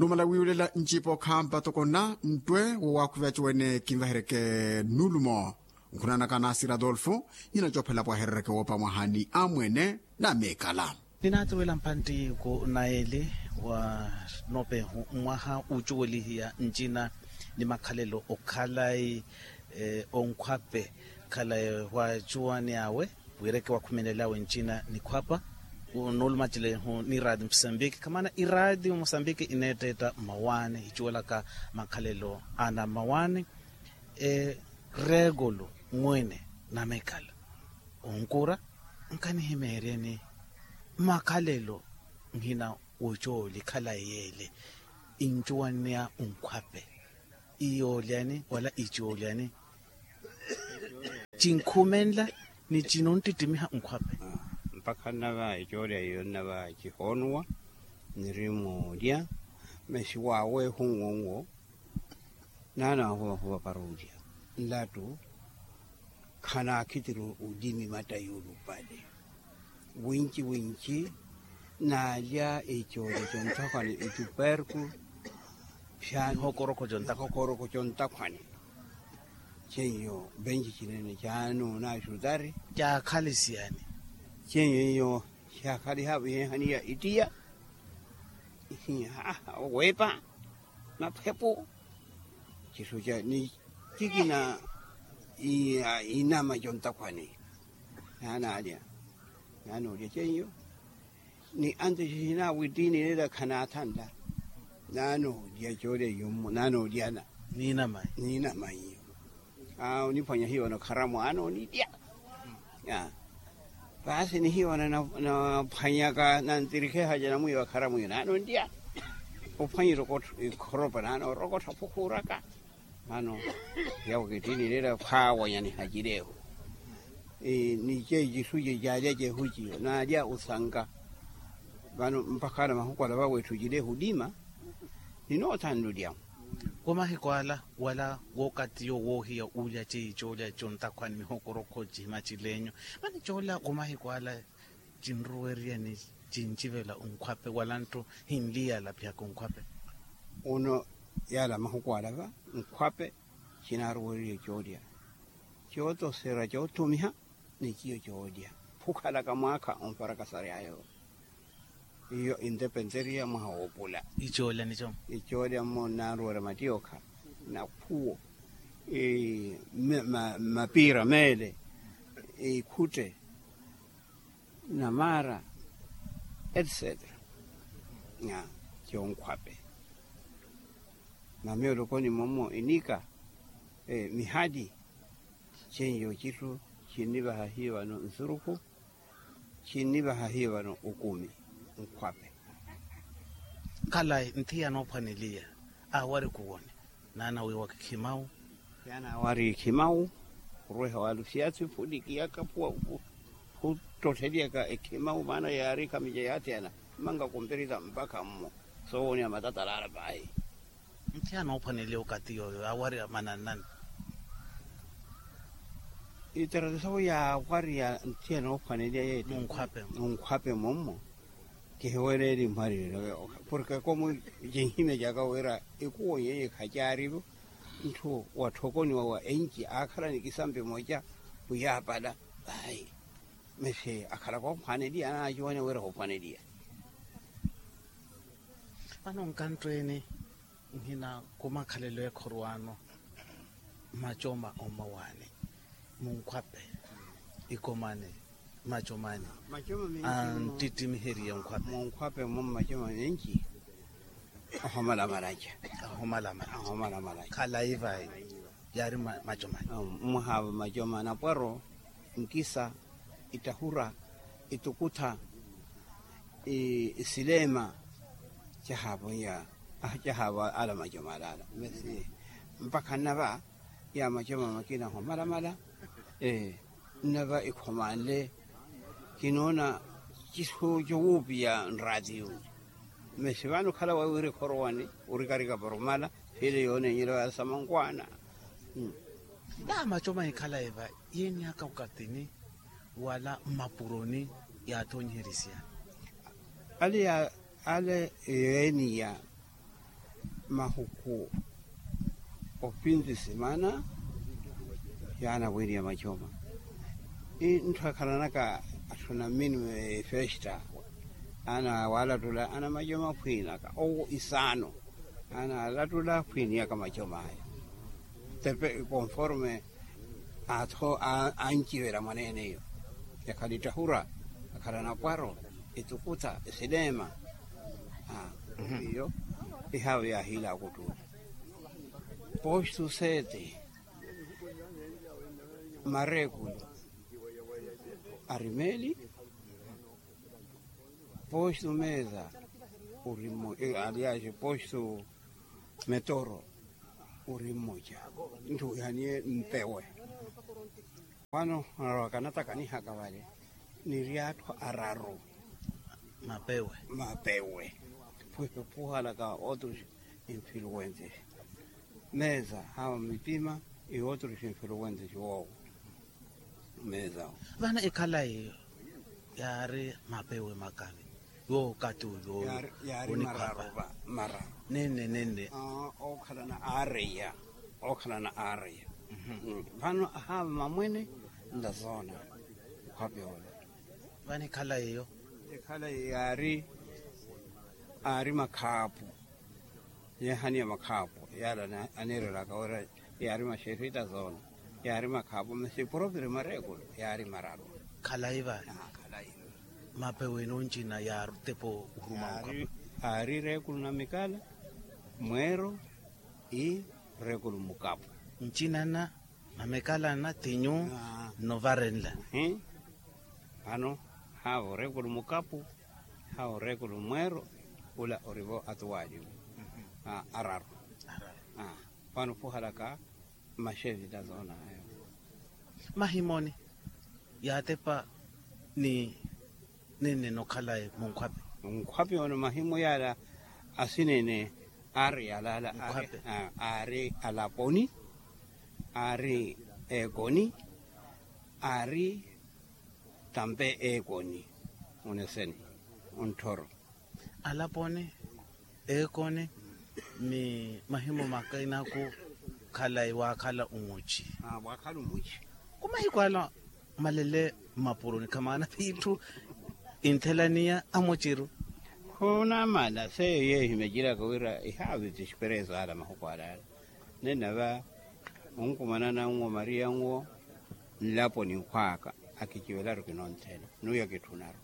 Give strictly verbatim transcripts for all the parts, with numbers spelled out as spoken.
Numala wiiwelela ncipa okhampa toko nna nttwe wo waakhuvi aciwene kinvaheryeke nnuulumo. Nkhunanaka naasira adolfo nyina coophela pwaherereke woopa mwaha ni amwene na meekala. Ninaatuwela mpantti ku naeli wa nopehu mwaha uucuwelihiya ncina ni makhalelo okhalayi onkhwape khalayi waacuwani awe. Wireke wakhumelelawe ncina nikhwapa. Nuulumacelehu ni iraati musambiki khamana iraati musambiki ineetteetta mmawaani hicuwelaka makhalelo ana mmawaani. Reekulu mwene namekala onkura nkanihimeeryeni makhalelo nhina wocooli khalayi yeele incuwanneya onkhwape iyoolyani wala icoolyani. Cinkhumenla ni cinonttittimiha nkhwape. Mpakha nnava ecoolya iyo nnava cihoonuwa niri moolya masi waaweehu nwo nwo naana wahuvahuva para olya nlattu khanaakhitiri olimi matta yuulupale winci winci. Naalya ecoolya contakhwani etuperku pyaani hokorokho contakhwani ceiyo benci cinene caano naxutari caakhalisiyani ceiyo iyo caakhaliha vihehaniya ittiya. Weepa maphepu cisu ca ni cikina inama contakhwani naanaalya naanoolya ceiyo. Ni antu cicinaawe ittiini leela khanaathanla naanoolya coolya yummo naanoolyana niinama iyo. Oniphwanya hiyo na kharamu anoonilya. Paasi ni hiyo naphwanyaka nantirikhehaca namwiiwa kharamu iyo naanonlya. Ophwanyire okottha ikhoropa naanoorokottha phukhuuraka. Mano yawo kittiinilira khwaawanya nihacileehu ni ceecisu cecaalya cehuciyo naalya osanka. Vano mpakha na mahuku ala vawetthu cileehu dima ninoothanlulyahu. Wamahiku ala wala wookatiyo woohiya uulya ceyi coolya contakhwani mihokorokho cihima cileenyu. Mani coola wamahiku ala cinruwerya ni cincivela onkhwape wala ntto hinliyala phiyaka onkhwape. Uno yaala mahuku ala va nkhwape cinaaruwererye coolya cootoserya coottumiha ni ciyo coolya phukhalaka mwaakha onfarakasary'ayo. Iyo indepenteriya mwaha woopula icoolya nico icoolya mmo nnaaruwerya mattiyookha nakhuwo mapiira meele ikhutte namaara etsetera. Conkhwape mamiyo olokoni mommo inika mihali. Ceiyo citthu cinnivaha hiyo vano nsurukhu cinnivaha hiyo vano ukumi nkhwape. Khalayi nthi yanoophwaneliya aawari kuwoni naana wiiwa kikhimau. Yaana aawari khimau khuruweha waalusiyasi phulikiyaka phuwa phuttotteliyaka ekhimau maana yaari khamica yaathiyana mmanka kumpirisa mpakha mmo soowoniha matatalaala paahi. Nthi anoophwaneliya okati yooyo aawari manannani. Itarato sawo yaawariya nthi anoophwaneliya yeetti munkhwape munkhwape mummo. Kihiwereeli mwariyelo porke komu cinhimya caka wira ikuwo nyeye khacaarivo ntthu watthokoniwa wa enci aakhala ni kisampi moca khuyaapala. Ayi mesi akhala koophwaneliya anaacuwanya wira koophwaneliya. Vano nkanttweene nhina khumakhalelo ekhorwaano macoma omawaani munkhwape ikomani macomani anttittimiherye nkhwape munkhwape mmo macoma menci ahomalamalaca ahomalamalaca khalayi vayi yaari macomani mwahaava macoma anapwaro nkisa itahura itukutha isileema cahaapoiya cahaava ala macoma alaala mesi mpakha nnava ya macoma makina ahomalamala nnava ikhomanle kinoona cisu cowuupiya nraatiyu mesi vano okhala waiwiri khorowani orikarika poromala siile yooneenyela wayasama nkwaana. Taa macoma ikhalayi va yeeni aka okatini wala mmapuroni yaathonyiherisiya ale ale yeeniya mahuku opinti simana. Yaana wiriya machoma. Ntthu akhalanaka atthu na mmini mefesta ana waalattula ana machoma aphwiinaka owo isaano ana alattula aphwiiniyaka machoma aya. Tepe konforme atho ancivela mwaneene iyo. Yakhala ittahura akhala napwaro, itukuta isileema. Iyo ihaavo yaahiila akuttuuli. Postu sete mareekulu arimeli. Postu meza uri mmoja aliaxe postu metoro uri mmoja. Ntthu wihaniye mpewe. Vano anarowaka anatakaniha kavale ni ryatthu araru mapewe mapewe. Pwihe phuhalaka otros influences meza hawa mipima. Iwotros influences wowo meza. Vano ekhala iyo yaari mapewe makavi. Yoowo okati uyo yaari mararu. Nenne nenne. Okhalana aareya okhalana aareya. Vano ahaava mamwene ntazoona. Khwapi olo. Vano ekhala iyo ekhala iyo yaari aari makhaapu. Yeehaniya makhaapu yaala aniirelaka wira yaari maxerita zoona. Yaari makhaapu masi proprio mareekulu yaari mararu. Khalayi vale. Mapewe ino ncina yaari tepo uruma mukapu. Aari reekulu na mikala mweero i reekulu mukapu. Ncina na na mikala na tinyu nnovarenla. Vano haavo reekulu mukapu haavo reekulu mweero. Ula orivo atuwaaliwe araru. Vano phuhalaka maxevita zoona ayo. Mahimoni yaatepa ni nene nokhalaye munkhwapi. Munkhwapi ono mahimu yaala asinene aari yalaala aari alaponi aari ekoni aari tampe ekoni. Oneseni ontthoro alaponi ekoni ni mahimu makina ku khalayi waakhala umuci. Waakhala umuci. Ku mahiku ala malele mmapuroni khamaana piitthu inthelaniya amuciru. Khunamana seyo yeeyo himecilaka wira ihaaviti expereso ala mahuku alala. Nene va onkumana nanwo mariya nwo nlapo ninkhwaaka akiciwelaru kinonthela nuya kitthunaru.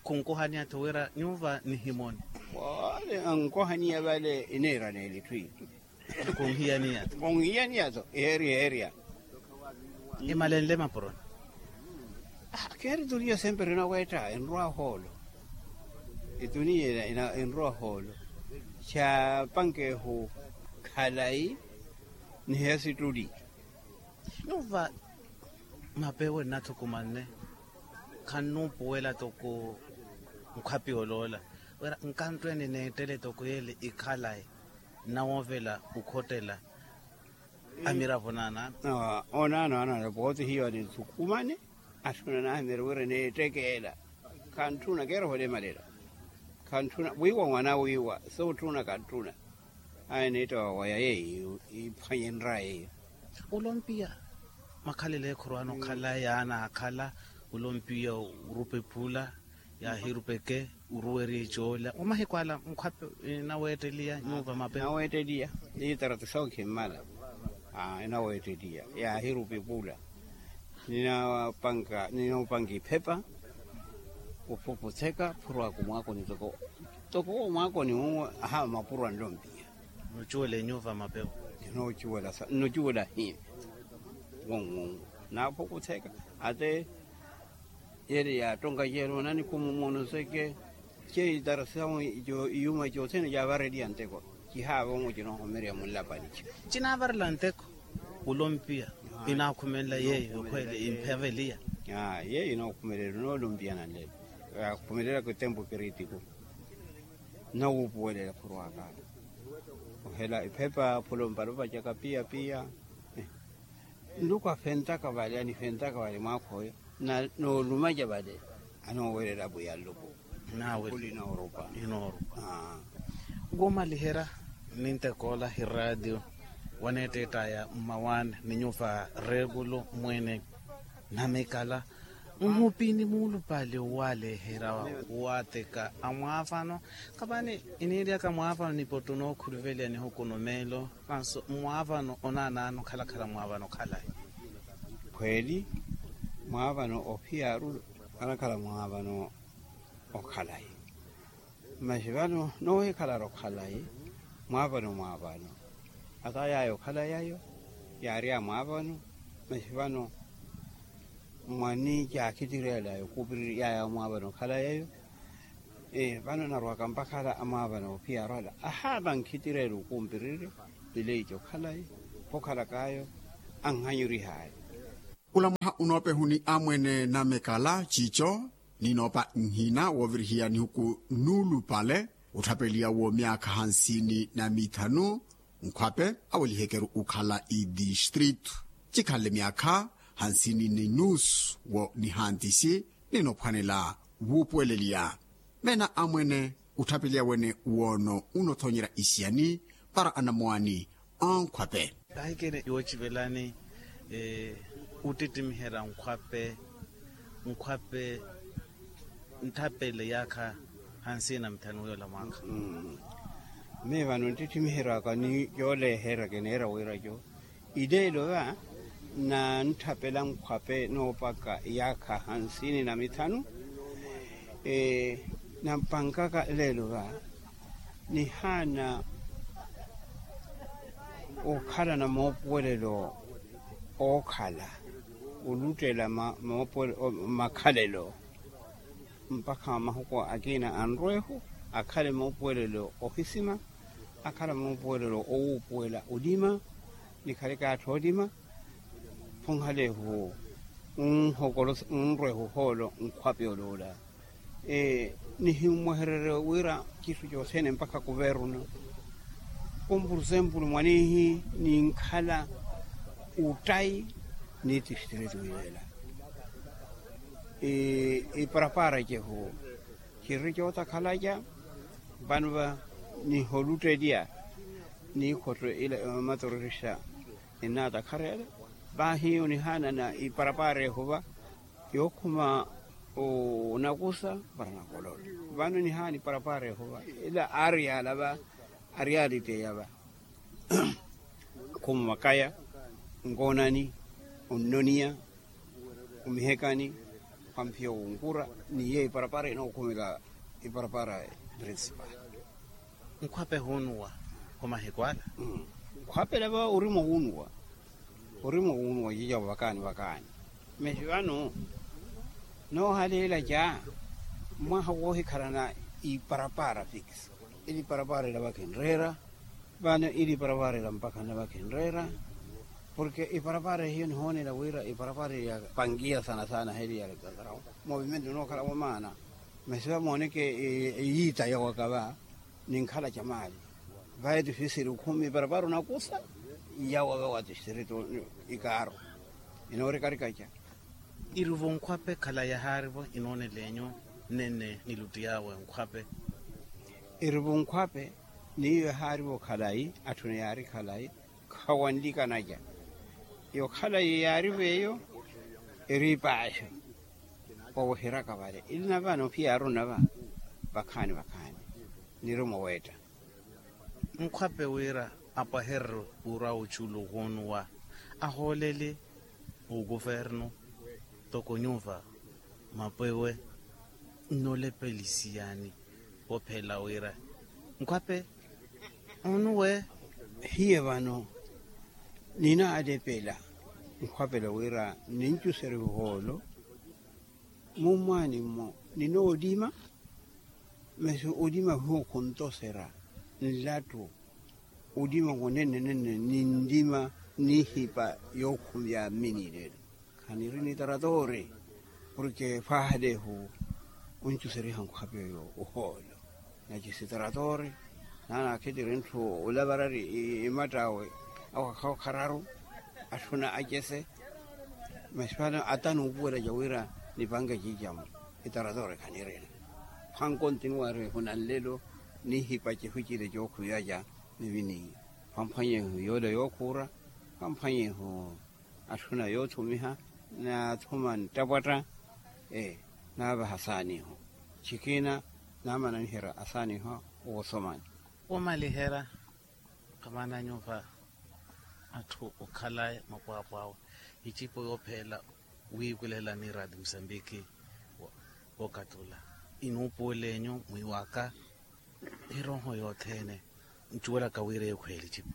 Khunkuhaniya-tho wira nyuva nihimoni. Ole ankohaniya vale ineera neelitthu iyi. Khunhiyaniya-tho eeriya eeriya. Imalenle mapuroni. Keeri tuniya sempre inaweetta enrwa hoolo. Ituniya enrwa hoolo. Ca pankehu khalayi ni hesittuli. Nuva mapewe nnathukumanne khannuupuwela toko nkhwapi oloola wira nkanttwene neettele toko yeele ikhalayi nnawoovela okhottela amiravo naanaano. Onaano anale pooti hiyo anithukumane atthuna naahimeri wira neettekeela. Khantthuna keerahole malela. Khantthuna wiiwa mwana wiiwa sootthuna khantthuna. Aye niitta wawaya yeeyo iphwanyenraya yeeyo. Olompiya makhalelo ekhurwaana okhala yaana akhala olompiya orupa ephula yaahirupeke oruwerya ecoola wa mahiku ala nkhwapi inaweetteliya nyuva mapepe. Inaweetteliya itaratu sookimmala. Inaweetteliya yaahirupa epula. Ninoopanka iphepa ophuputheka phurwaka omwaakoni toko toko omwaakoni wuwo ahaava mapuro anlompiya. Nocuwela enyuva mapepe. Nnocuwela hi wonwonwo naaphukutheka ate yele yaattonka ceelo nanikhumumuna oseke. Ceyi tarasisamu iyuma cothene caavareliya nteko cihaava omo cinoohomereya munlapani. Cinaavarela nteko olompiya inaakhumelela yeeyo yokhweele imphaveliya. Yeeyo inookhumelela inoolompiya nanlelo yaakhumelelaka etempu kiritiku. Nawuupuwelela khurwaka ohela ephepa phula ompala opacaka piya piya. Nluku afentaka vale anifentaka vale mwaakha oyo noolumaca vale. Anoowelela apwiya nluku. Inoorupa. Womaliherya Nintekoola hi raatiyo waneetteett'aya mmawaani ni nyuva reekulu mwene namikala. Nhupini muulupale owaaleherya waateka amwaavano. Kapani iniiryaka mwaavano ni pottu nookhuluveliya nihuku no meelo. Manso mwaavano onaanaani okhalakhala mwaavano okhalayi? Khweeli, mwaavano ophiyaaru anakhala mwaavano okhalayi. Masi vano noohikhalara okhalayi, mwaavano mwaavano. Ata yaya okhalayayo yaari a mwaavano. Masi vano mwani caakhitireela yokuupirirya yaya mwaavano okhalayayo. Vano narwaka mpakhala amwaavano ophiyaaru ala ahaava nkhitireela okuumpirirya. Pileiti okhalayi khokhalak'ayo anhanyurih'aya. Ola mwaha onoopehu ni amwene namekala cico, ninoopa nhina woovirihiya nihuku nuulupale otthapeliya w'omyaakha hansini na mithanu. Nkhwape awelihekeru okhala itistritu cikhanle myaakha hansini ni nuusu wo nihantisi. Ninoophwanela wuupuweleliya meena amwene otthapeliya wene woono onoothonyerya isiyani para anamoani. Ankhwape. Ahikene yoocivelani ottittimiherya nkhwape nkhwape ntthapele yaakha hansini na mithanu w'ola mwaakha. Mii vano nttittimiheryaka ni yooleherya kineera wira co. Ileelo va nantthapela nkhwape noopaka yaakha hansini na mithanu. Nampankaka leelo va nihaana okhala na moopuwelelo ookhala oluttela makhalelo mpakha mahuku akina anrwehu akhale moopuwelelo ohisima. Akhala moopuwelelo owuupuwela olima nikhaleke atthu olima. Phunhalehu unrwehu ohoolo nkhwape oloola. Nihimmwehererye wira citthu cothene mpakha kuvernu. Kumpurusempulu mwanihi ninkhala uttayi ni tistritu yela. Iparapara cehu cirri cootakhalaca. Vano va niholuttelya niikhotto ila matororista. Ninaatakharela vaahi onihaana na iparapara ehu va yookhuma onakusa para nakololo. Vano nihaana iparapara ehu va ila aari yaala va ari yaaliteya va. Khuma makaya nkoonani onnoniya omihekani. Khwamphiya wunkura ni yeeyo iparapara inookhumela iparapara principal. Nkhwape huunuwa ho mahiku ala. Nkhwapela va orimwa wuunuwa orimwa wuunuwa cica vakaani vakaani. Masi vano noohaleela ca mwaha woohikhalana iparapara fikisi ili iparapara ila vakhinreera. Vano ili iparapara ila mpakha na vakhinreera. Porke iparapara hiyo nihoonela wira iparapara ya pangiya sana sana heli ya legadrao movimento nookhala wamaana. Masi vamooneke eyiita yawaka va ninkhala ca maali vaye tifisiri okhumi parapara onakusa. Yawa vawa tistritu ikaaru inoorikarikaca. Irivo nkhwape khala yahaarivo inooneleenyu nene nilutti yawe nkhwape. Irivo nkhwape niyo yahaarivo khalayi atthuni yaari khalayi khawanlikanaca. Yokhala yeyaari veyo eri ipaaxo. Oweheraka vale ili nava nophiyaaru nava vakhaani vakhaani nirumo weetta. Nkhwape wira apwahererye wura oculu wonuwa ahooleli okuvernu toko nyuva mapwewe nnolepelisiyani. Ophela wira nkhwape onuwe. Hiye vano ninaalepela nkhwapela wira nincuserya ohoolo. Mummwaani-mo ninoolima masi olima hiwo khuntoserya nlattu. Olima wonene nene ninlima nihipa yookhumya mminilelo. Khaniri ni taratoori porke fwahalehu oncusery'aha nkhwape oyo ohoolo. Nacisi taratoori naana akhitiri ntthu olavarari imatt'awe awakha okhararu atthuna acese. Masi vano ata nuupuwela ca wira nipanke ciicamo itaratoori khanirina. Khwankontinuwari ehuna nlelo nihipa cehu cile cookhwiyaca. Niviniya, vamphwanyehu yoola yookhuura, vamphwanyehu atthuna yoothumiha, naathuma nttapwatta. Naavaha asaaniho, chikina naamana niherya asaaniho. Woosomani, womaliherya. Khamana nyuva atthu okhala mapwaapwaawe, icipo yoopheela wiikulela ni radi musambiki. Wookatula inuupuwel'enyu mwiiwaka, erooho yothene ncuwelaka wira eyo khweeli ecipo.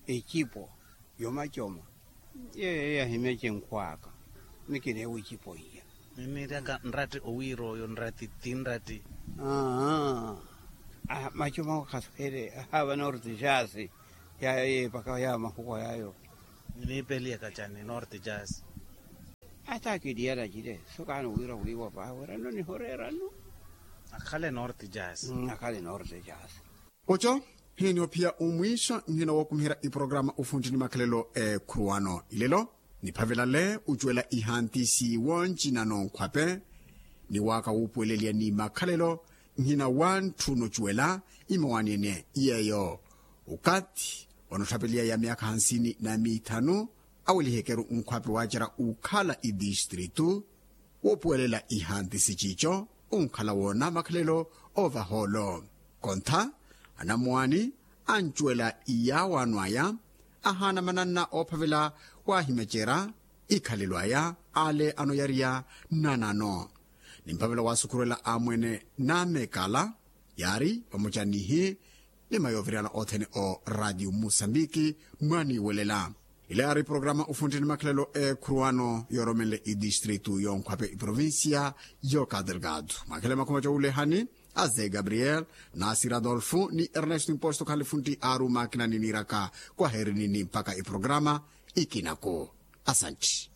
Ecipo yomacoma yeeyo yahimya cinkhw'aka. Mikineewa ecipo iya. Ninniryaka nratti owiira oyo nratti ti nratti. Aa. Macoma awo khaswele ahaava norte jasi. Yayo yeepaka yawo mahuko yayo. Niniipeliyaka cani norte jasi. Ata akiliyala cile sokaani wira wiiwa paawerano nihoreerano. Akhale norte jasi. Akhale norte jasi. Oco hiinihophiya omwiixo nhina wookumiherya iporokaramu ufuntti ni makhalelo eekhuruwano ilelo. Niphavelale ocuwela ihantisi woncinano nkhwape ni waaka wuupuweleliya ni makhalelo. Nhina wantthu nocuwela imawaani ene yeeyo okathi onotthapeliya ya myaakha hansini na miithanu awelihekeru nkhwape waacerya ukhala itistritu woopuwelela ihantisi ciico onkhala woona makhalelo oovaha olo. Kontha anamuwaani ancuwela iyaawaano aya ahaana mananna oophavela waahimecerya ikhalelo aya ale anoyariya nnanano ni mphavela waasukhuruwela amwene namekala yaari vamoca nihi ni mayooviriyana othene o radio musambiki. Mwaaniiwelela ila yaari porokaramu ufuntti ni makhalelo eekhuruwano yooromenle itistritu yonkhwape iprovincia yoka delgado mwakhele makhumaca owulehani a ze gabriel nasir adolfo ni ernesto imposto khalifuntti aaru maakina niniiraka kwaherini ni mpakha iporokaramu ikinaku. Asantti.